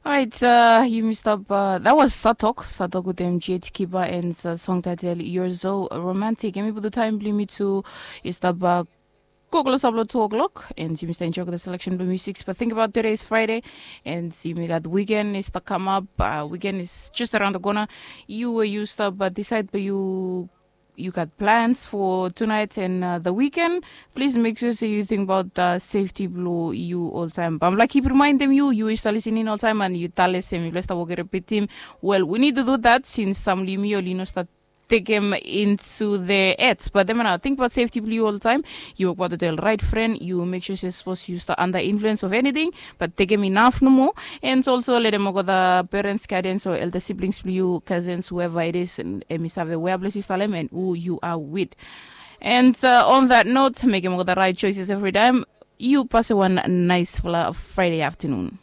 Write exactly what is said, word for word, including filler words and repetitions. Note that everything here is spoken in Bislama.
Orait, uh, yumi stap, uh, that was Satok, Satok wetem Jet Kiba and uh, song title You're So Romantic. Yumi putu taim bilong yumi tu i stap uh, go klosap long two o'clock and yumi stap enjoy the selection bilong music. But think about today is Friday and yumi got weekend is stap come up. Uh, weekend is just around the corner. You where you stap uh, decide but you you got plans for tonight and uh, the weekend, please make sure so you think about the safety below you all time. But I'm like keep reminding you, you is listening all time and you tell us him, you start working repeat him. Well, we need to do that since some limio lino start take him into the ads. But then now think about safety below you all the time. You work about the right friend, you make sure you're supposed to use the under influence of anything, but take him enough no more. And also let him go the parents, guardians or elder siblings, you cousins, whoever it is, and emisave where bless you, Salem, and who you are with. And uh, on that note, make him go the right choices every time. You pass one nice Friday afternoon.